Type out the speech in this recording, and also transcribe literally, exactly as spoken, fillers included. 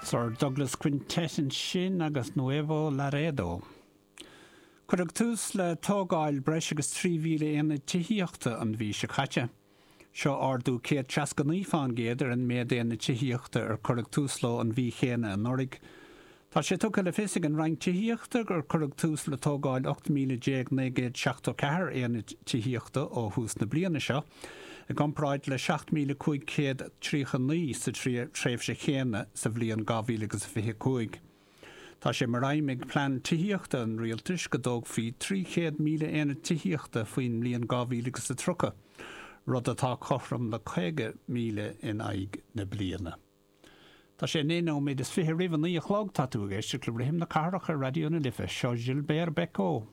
Sir Douglas Quintet ansin agus Nuevo Laredo. Cuireadh tús le tógáil breis agus trí mhíle aonad tithíochta an mhí seo caite. Seo ardú céad seasca naoi faoin gcéad ar an méid aonad tithíochta ar cuireadh tús leo an mhí chéanna anuraidh. Tá sé tugtha le fios ag an Roinn Tithíochta gur cuireadh tús le tógáil ocht míle déag naoi gcéad seachtó ceathair aonad tithíochta ó thús na bliana seo, i gcomparáid le seacht míle cúig chéad tríocha naoi sa tréimhse chéanna sa bhliain dhá mhíle agus a fiche cúig. Tá sé mar aidhm ag plean tithíochta an rialtais go dtógfaí trí chéad míle aonad tithíochta faoin mbliain dhá mhíle agus a tríocha, rud atá cothrom le caoga míle in aghaidh na bliana. Tá sé naoi nóiméad is fiche roimh a naoi a chlog, tá tú ag éisteacht le Rithim na Cathrach ar Raidió na Life, seo Gilbert Bécaud.